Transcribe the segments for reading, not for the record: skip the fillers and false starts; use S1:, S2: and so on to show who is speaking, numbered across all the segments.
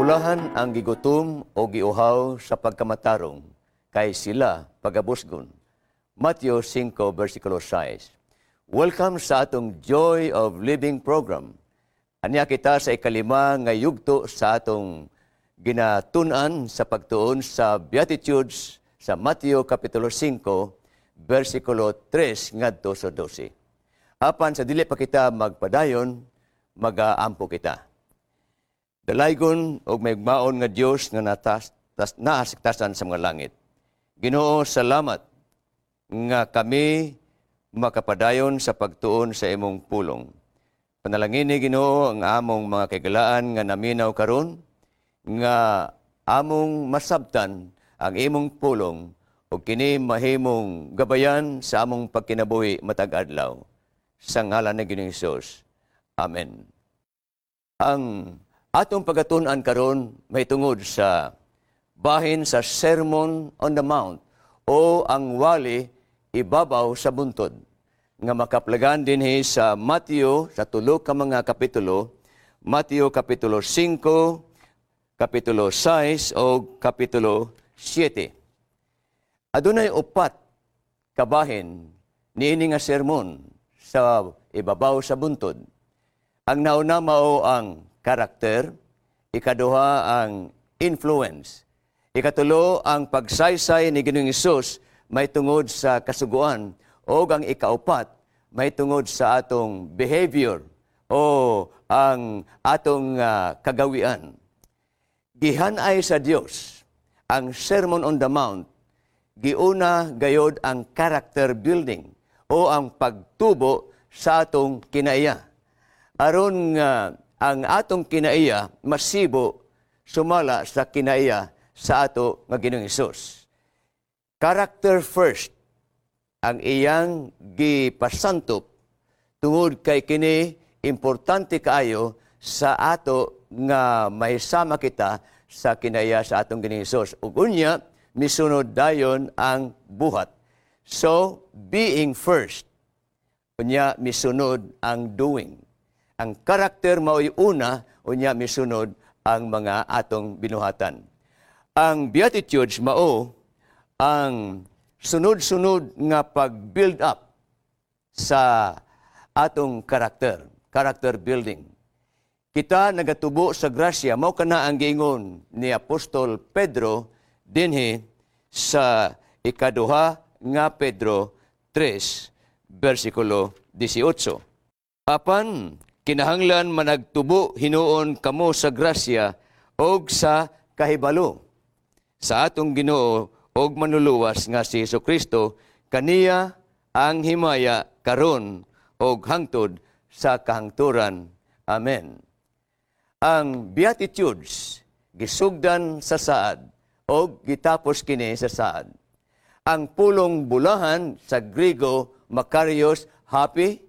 S1: Bulahan ang gigutom o giuhaw sa pagkamatarong, kay sila pagabusgon. Matthew 5, versikulo 6. Welcome sa atong Joy of Living program. Ania kita sa ikalima nga yugto sa atong ginatun-an sa pagtuon sa Beatitudes sa Matthew Kapitulo 5, versikulo 3 ngadto sa 12. Apan sa dili pa kita magpadayon, magaampo kita. Dalaygon og mahigugmaon nga Dios nga natas, tas, naa sa taas sa mga langit. Ginoo, salamat nga kami makapadayon sa pagtuon sa imong pulong. Panalangini, Ginoo, ang among mga kahigalaan nga naminaw karon nga among masabtan ang imong pulong ug kini mahimong gabayan sa among pagkinabuhi matag adlaw. Sa ngalan ni Ginoong Hesus. Amen. Ang atong pagatun-an karon may tungod sa bahin sa Sermon on the Mount o ang wali ibabaw sa buntod nga makaplagan dinhi sa Matthew sa tulo ka mga kapitulo, Matthew Kapitulo 5, Kapitulo 6 o Kapitulo 7. Adunay upat kabahin niini nga sermon sa ibabaw sa buntod. Ang nauna mao ang karakter, ikaduha ang influence, ikatulo ang pagsaysay ni Ginoong Hesus may tungod sa kasuguan, o ang ikaupat may tungod sa atong behavior o ang atong kagawian. Gihanay sa Dios ang Sermon on the Mount, giuna gayod ang character building o ang pagtubo sa atong kinaiya. Aron nga ang atong kinaiya masibo sumala sa kinaiya sa ato nga Ginoong Hesus. Character first ang iyang gipasantop tungod kay kini importante kaayo sa ato nga mahisama kita sa kinaiya sa atong Ginoong Hesus. Ug unya misunod dayon ang buhat. So, being first, unya misunod ang doing. Ang karakter mao'y una, unya misunod ang mga atong binuhatan. Ang Beatitudes mao ang sunod-sunod nga pag-build up sa atong karakter, character building. Kita nagatubo sa grasya, mao kana ang giingon ni Apostol Pedro dinhi sa Ikaduha nga Pedro 3, versikulo 18. Apan kinahanglan managtubo hinuon kamo sa grasya og sa kahibalo sa atong Ginoo og Manluluwas nga si Kristo. Kaniya ang himaya karon og hangtod sa kahangturan. Amen. Ang Beatitudes gisugdan sa saad og gitapos kini sa saad. Ang pulong bulahan sa Griego makarios, happy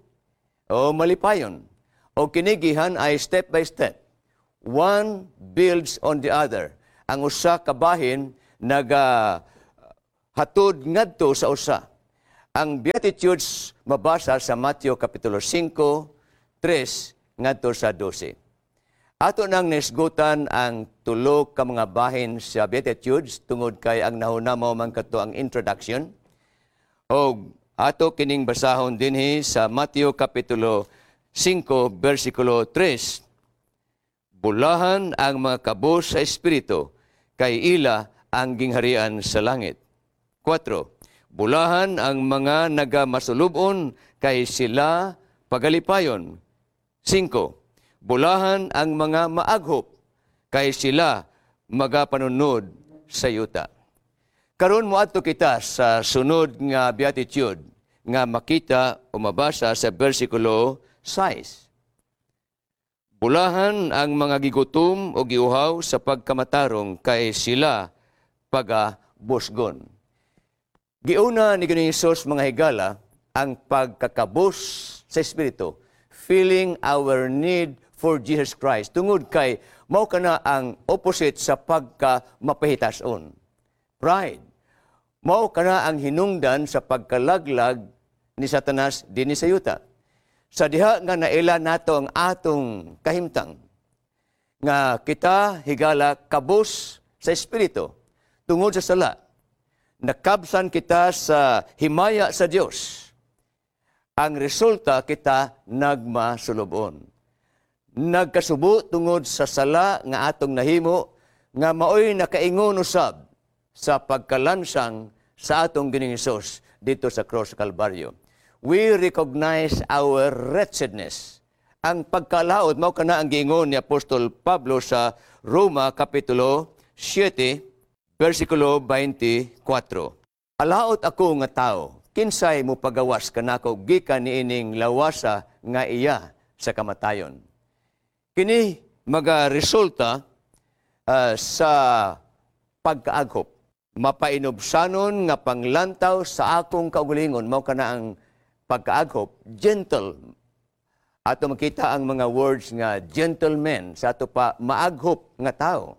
S1: o malipayon. O kini gihanay step by step. One builds on the other. Ang usa ka bahin naga hatod ngadto sa usa. Ang Beatitudes mabasa sa Matthew Kapitulo 5, 3 ngadto sa 12. Ato nang nisgutan ang tulo ka mga bahin sa Beatitudes tungod kay ang nahuna mao man kato ang introduction. Og ato kining basahon dinhi sa Matthew Kapitulo 5, versikulo 3. Bulahan ang mga kabos sa espiritu, kay ila ang gingharian sa langit. 4. Bulahan ang mga nagamasulubon, kay sila pagalipayon. 5. Bulahan ang mga maaghop, kay sila magapanunod sa yuta. Karon moadto kita sa sunod nga beatitude nga makita o mabasa sa versikulo 6. Bulahan ang mga gigutom o giuhaw sa pagkamatarong, kay sila pagabusgon. Giuna ni Ginoong Hesus, mga higala, ang pagkakabos sa espiritu, feeling our need for Jesus Christ. Tungod kay mao kana ang opposite sa pagka mapahitason. Pride. Mao kana ang hinungdan sa pagkalaglag ni Satanas dinhi sa yuta. Sa diha nga naila nato ang atong kahimtang, Nga kita, higala, kabos sa espiritu tungod sa sala. Nakabsan kita sa himaya sa Dios. Ang resulta, kita nagmasulubon. Nagkasubo tungod sa sala nga atong nahimo nga maoy nakaingon usab sa pagkalansang sa atong Ginoong Hesus didto sa cross sa Kalbaryo. We recognize our wretchedness. Ang pagkalaot mao kana ang giingon ni Apostol Pablo sa Roma kapitulo 7 versikulo 24. "Alaot ako nga tao, kinsay mo pagawas kanako gikan niining lawasa nga iya sa kamatayon?" Kini magaresulta sa pagkaaghop. Mapainubsanon nga panglantaw sa akong kaugalingon, mao kana ang pagkaaghop, gentle. Ato makita ang mga words nga gentleman sa ato pa maaghop nga tao.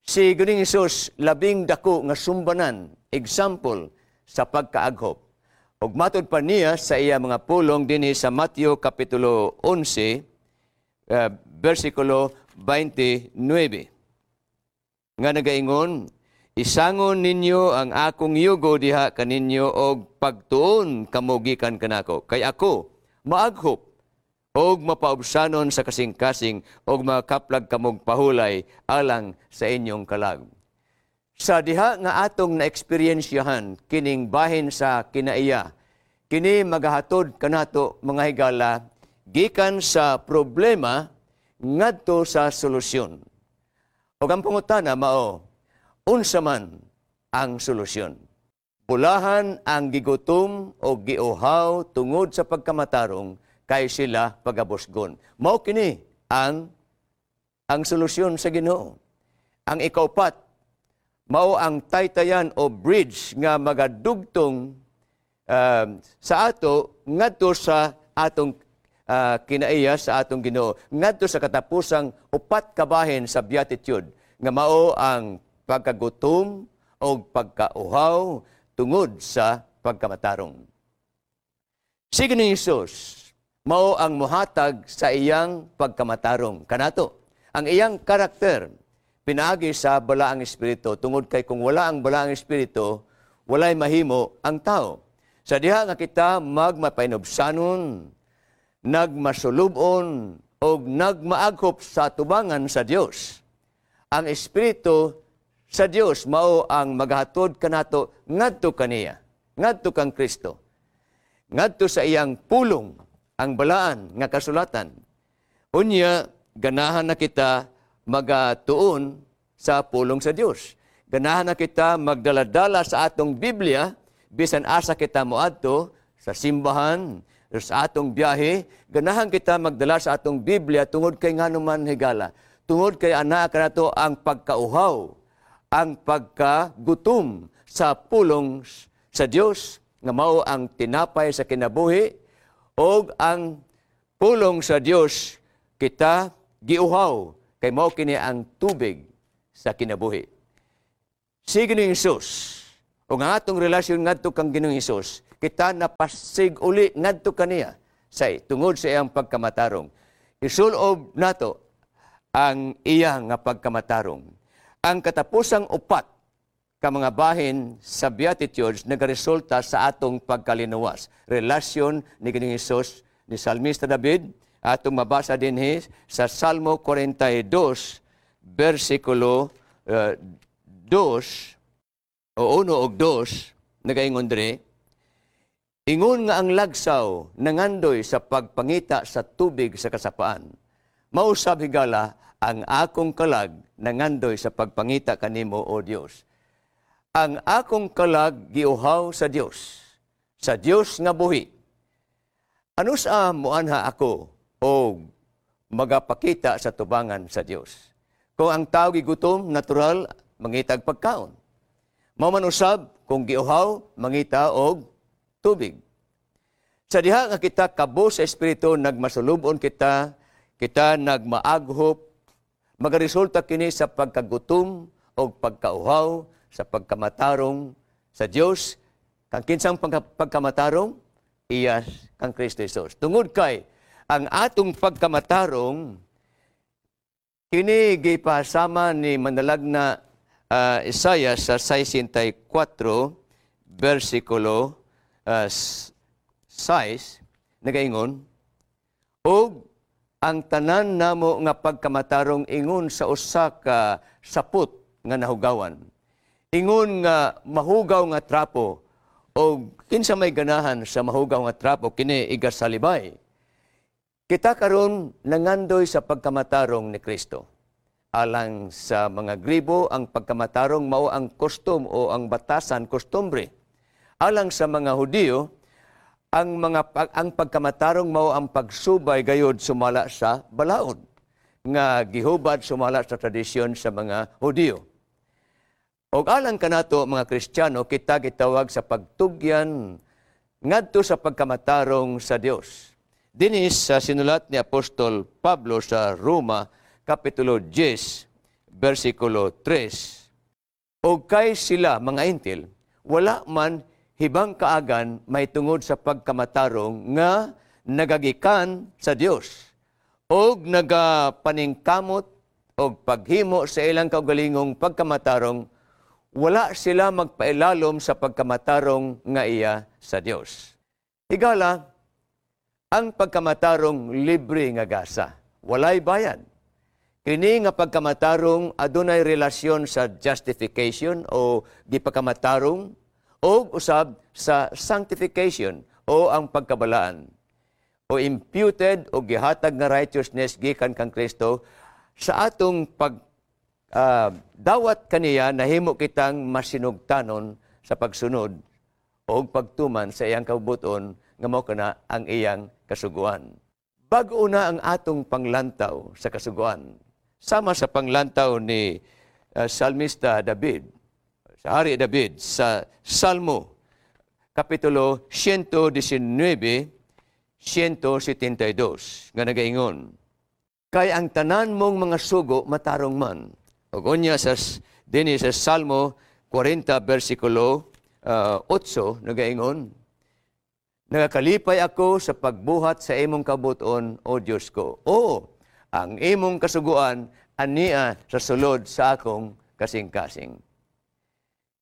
S1: Si Ginoong Hesus labing dako nga sumbanan, example sa pagkaaghop. Ug matud pa niya sa iya mga pulong dinhi sa Mateo kapitulo 11 versikulo 29 nga nagaingon, "Isangon ninyo ang akong yugo diha kaninyo og pagtuon kamo gikan kanako, kay ako maaghop og mapaubsanon sa kasing-kasing, og makaplag kamog pahulay alang sa inyong kalag." Sa diha nga atong naeksperiensyahan kining bahin sa kinaiya, kini magahatod kanato, mga higala, gikan sa problema ngadto sa solusyon. Ug ang pangutana mao, unsa man ang solusyon? Bulahan ang gigutom o giuhaw tungod sa pagkamatarong, kay sila pagabusgon. Mao kini ang solusyon sa Ginoo. Ang ikaupat, mao ang taytayan o bridge nga magadugtong sa ato ngadto sa atong kinaiya sa atong Ginoo, ngadto sa katapusang upat ka bahin sa beatitude nga mao ang pagkagutom o pagkauhaw tungod sa pagkamatarong. Si Ginoong Hesus mao ang muhatag sa iyang pagkamatarong kanato. Ang iyang karakter pinaagi sa Balaang Espiritu, tungod kay kung wala ang Balaang Espiritu, walay mahimo ang tao. Sa diha nga kita magmapainubsanon, nagmasulubon og nagmaaghop sa tubangan sa Dios, ang Espiritu sa Dios mao ang maghatod kanato ngadto kaniya, ngadto kang Kristo, ngadto sa iyang pulong, ang balaan nga kasulatan. Unya ganahan na kita magatuon sa pulong sa Dios. Ganahan na kita magdaladala sa atong Biblia bisan asa kita moadto, sa simbahan, sa atong biyahe, ganahan kita magdala sa atong Biblia tungod kay ngano man, higala? Tungod kay anaa kanato ang pagkauhaw, ang pagkagutom sa pulong sa Dios nga mao ang tinapay sa kinabuhi, og ang pulong sa Dios kita giuhaw kay mao kini ang tubig sa kinabuhi. Si Ginoong Hesus ug ang atong relasyon ngadto kang Ginoong Hesus, kita napasig uli ngadto kaniya sa tungod sa iyang pagkamatarong. Isulob nato ang iya nga pagkamatarong. Ang katapusang upat ka mga bahin sa Beatitudes nagaresulta sa atong pagkalinuwas. Relasyon ni Ginoong Hesus ni Salmista David, atong mabasa dinhi sa Salmo 42 versikulo 2 o 1 og 2, nagaingon diri, "Ingon nga ang lagsaw nangandoy sa pagpangita sa tubig sa kasapaan, mausab, higala, ang akong kalag nangandoy sa pagpangita kanimo, O Dios." Ang akong kalag giuhaw sa Dios, sa Dios nga buhi. Ano sa muanha ako o magapakita sa tubangan sa Dios? Kung ang tao gigutom, natural, mangitag pagkaon. Mao man usab, kung giuhaw, mangita og tubig. Sa diha nga kita kabos sa espiritu, nagmasulubon kita, kita nagmaaghop, magaresulta kini sa pagkagutom o pagkauhaw sa pagkamatarong sa Dios. Kang kinsang pagkamatarong? Iya kang Kristo Jesus. Tungod kay ang atong pagkamatarong Kini gipasama ni manalagna Isaiah sa 64 versikulo 6, nagaingon, "Og ang tanan namo nga pagkamatarong ingon sa usa ka sapot nga nahugawan, ingon nga mahugaw nga trapo, og kinsa may ganahan sa mahugaw nga trapo, kini igasalibay." Kita karon nangandoy sa pagkamatarong ni Kristo. Alang sa mga Grigo, ang pagkamatarong mao ang kostum o ang batasan, kostumbre. Alang sa mga Hudiyo, ang pagkamatarong mao ang pagsubay gayod sumala sa balaod nga gihubad sumala sa tradisyon sa mga Hudiyo. Og alang kanato mga Kristiyano, kita gitawag sa pagtugyan ngadto sa pagkamatarong sa Dios. Dinis sa sinulat ni Apostol Pablo sa Roma kapitulo 10 bersikulo 3, "Og kay sila mga Hentil wala man hibang kaagan mahitungod sa pagkamatarong nga nagagikan sa Dios og nagapaningkamot og paghimo sa ilang kaugalingong pagkamatarong, wala sila magpailalom sa pagkamatarong nga iya sa Dios." Higala, ang pagkamatarong libre nga gasa, walay bayad. Kini nga pagkamatarong adunay relasyon sa justification o gipakamatarong o usab sa sanctification o ang pagkabalaan o imputed o gihatag nga righteousness gikan kang Kristo. Sa atong pag dawat kaniya, nahimo kitang masinugtanon sa pagsunod o pagtuman sa iyang kabubut-on nga mao kana ang iyang kasuguan. Bag-o na ang atong panglantaw sa kasuguan. Sama sa panglantaw ni Salmista David, sa Hari David, sa Salmo, Kapitulo 119, 172, nga nagaingon, "Kay ang tanan mong mga sugo matarong man." Ug unya sa dinhi sa Salmo 40 versikulo 8, nagaingon, "Nagakalipay ako sa pagbuhat sa imong kabubut-on, O Dios ko. O, ang imong kasuguan ania sa sulod sa akong kasing-kasing."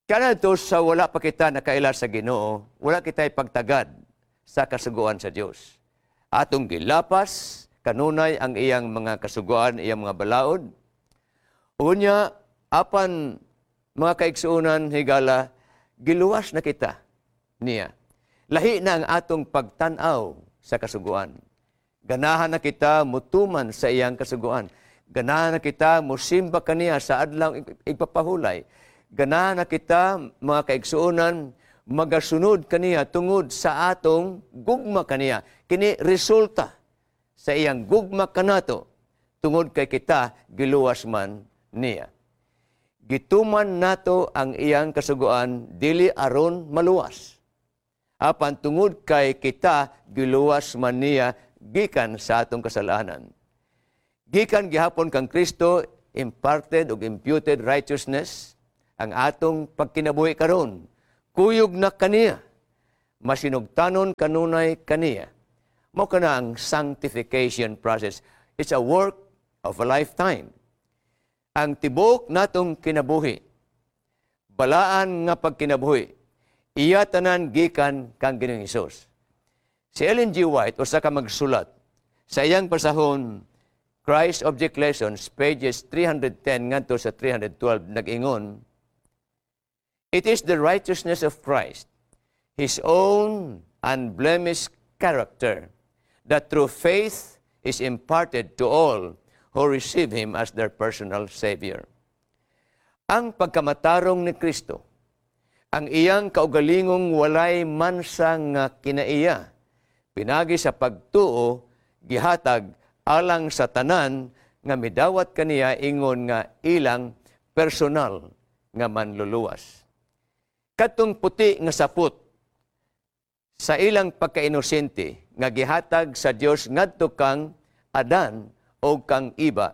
S1: Kaya to sa wala pa kita nakaila sa Ginoo, wala kita pagtagad sa kasuguan sa Dios. Atong gilapas kanunay ang iyang mga kasuguan, iyang mga balaod. Unya, apan mga kaigsuonan, higala, giluwas na kita niya. Lahi na ang atong pagtan-aw sa kasuguan. Ganahan na kita mutuman sa iyang kasuguan. Ganahan na kita musimba kaniya sa adlaw igpapahulay. Ganahan na kita, mga kaigsuonan, magasunod kaniya tungod sa atong gugma kaniya. Kini resulta sa iyang gugma kanato tungod kay kita giluwas man niya. Gituman nato ang iyang kasuguan dili aron maluwas, apan tungod kay kita giluwas man niya gikan sa atong kasalanan. Gikan gihapon kang Kristo, imparted ug imputed righteousness, ang atong pagkinabuhi karon kuyog na kaniya, masinugtanon kanunay kaniya. Mao kana ang sanctification process. It's a work of a lifetime. Ang tibuok natong kinabuhi, balaan nga pagkinabuhi, iya tanan gikan kang Ginoong Hesus. Si Ellen G. White, usa ka magsulat, sa iyang pasahon Christ Object Lessons, pages 310 ngadto sa 312, nag-ingon, "It is the righteousness of Christ, His own unblemished character, that through faith is imparted to all who receive Him as their personal Savior." Ang pagkamatarong ni Kristo, ang iyang kaugalingong walay mansa nga kinaiya, pinagi sa pagtuo, gihatag alang sa tanan nga midawat kaniya ingon nga ilang personal nga manluluwas. Katong puti nga sapot sa ilang pagkainosente nga gihatag sa Dios ngadto kang Adan o kang Iba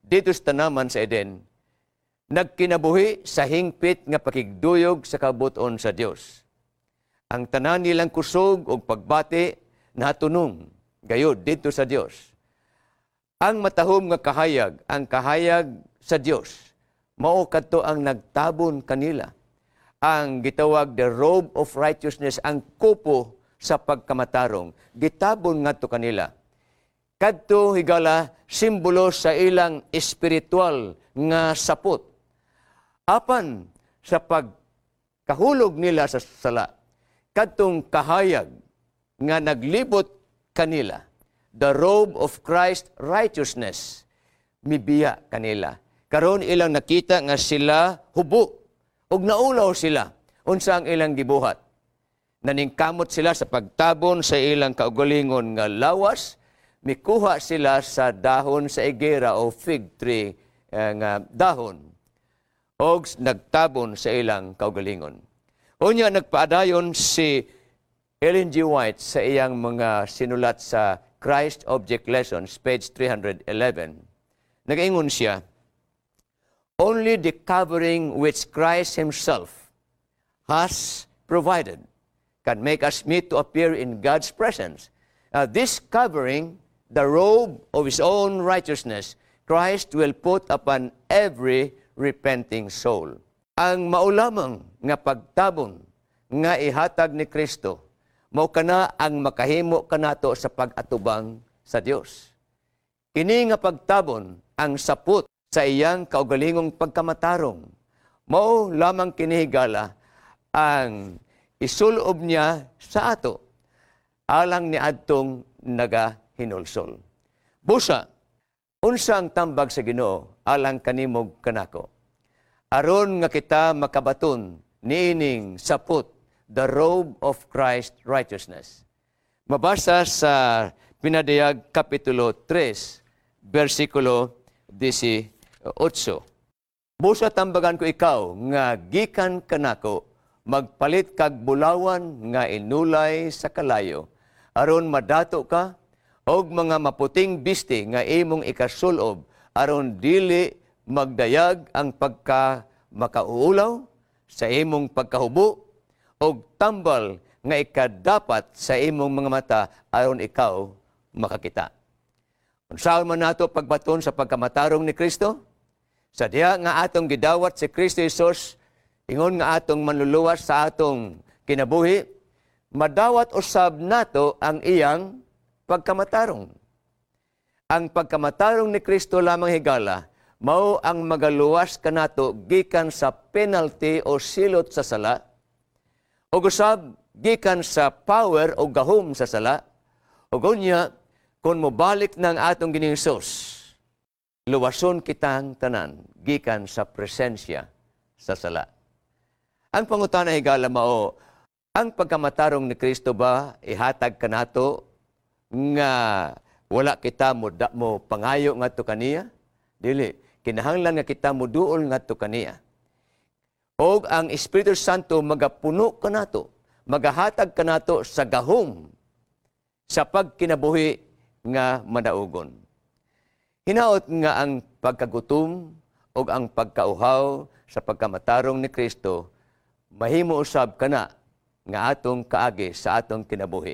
S1: dito sa tanaman sa Eden, nagkinabuhi sa hingpit nga pakigduyog sa kabubut-on sa Dios. Ang tanan nilang kusog og pagbati natunong gayod dito sa Dios. Ang matahom nga kahayag, ang kahayag sa Dios, mao kadto ang nagtabon kanila. Ang gitawag the robe of righteousness, ang kupo sa pagkamatarong, gitabon ngadto kanila. Kadto, higala, simbolo sa ilang espiritual nga sapot. Apan sa pagkahulog nila sa sala, kadtong kahayag nga naglibot kanila, the robe of Christ righteousness, mibiya kanila. Karon ilang nakita nga sila hubo ug naulaw sila. Unsa ang ilang gibuhat? Naningkamot sila sa pagtabon sa ilang kaugalingon nga lawas, mikuha sila sa dahon sa igera o fig tree nga dahon og nagtabon sa ilang kaugalingon. Unya nagpaadayon si Ellen G. White sa iyang mga sinulat sa Christ Object Lessons, page 311. Nagaingon siya, "Only the covering which Christ Himself has provided can make us meet to appear in God's presence. This covering, the robe of His own righteousness, Christ will put upon every repenting soul." Ang mao lamang nga pagtabon nga ihatag ni Kristo, mao kana ang makahimo kanato sa pag-atubang sa Dios. Kini nga pagtabon, ang sapot sa iyang kaugalingong pagkamatarong, mao lamang kini, higala, ang isulob niya sa ato alang ni adtong nagahinulsol. Busa, unsa ang tambag sa Ginoo alang kanimo, kanako? Aron nga kita makabaton niining sapot, the robe of Christ righteousness. Mabasa sa Pinadayag Kapitulo 3, versikulo 18. "Busa tambagan ko ikaw nga gikan kanako, magpalit kag bulawan nga inulay sa kalayo, aron madato ka, og mga maputing bisti nga imong ikasulob, aron dili magdayag ang pagka makauulaw sa imong pagkahubo, og tambal nga ikadapat sa imong mga mata, aron ikaw makakita." Unsaon man nato pagbaton sa pagkamatarong ni Kristo? Sa diha nga atong gidawat si Kristo Jesus, ingon nga atong manluluwas sa atong kinabuhi, madawat usab nato ang iyang pagkamatarong. Ang pagkamatarong ni Kristo lamang, higala, mao ang magaluwas kanato gikan sa penalty o silot sa sala, o usab gikan sa power o gahom sa sala, o unya, kung mobalik ng atong Ginoong Hesus, luwason kitang tanan gikan sa presensya sa sala. Ang pangutana, higala, mao, ang pagkamatarong ni Kristo ba ihatag kanato nga wala kita mo pangayo ngadto kaniya? Dili, kinahanglan nga kita moduol ngadto kaniya. Og ang Espiritu Santo magapuno kanato, magahatag kanato sa gahom sa pagkinabuhi nga madaugon. Hinaot nga ang pagkagutom ug ang pagkauhaw sa pagkamatarong ni Kristo mahimo usab kana nga atong kaagi sa atong kinabuhi.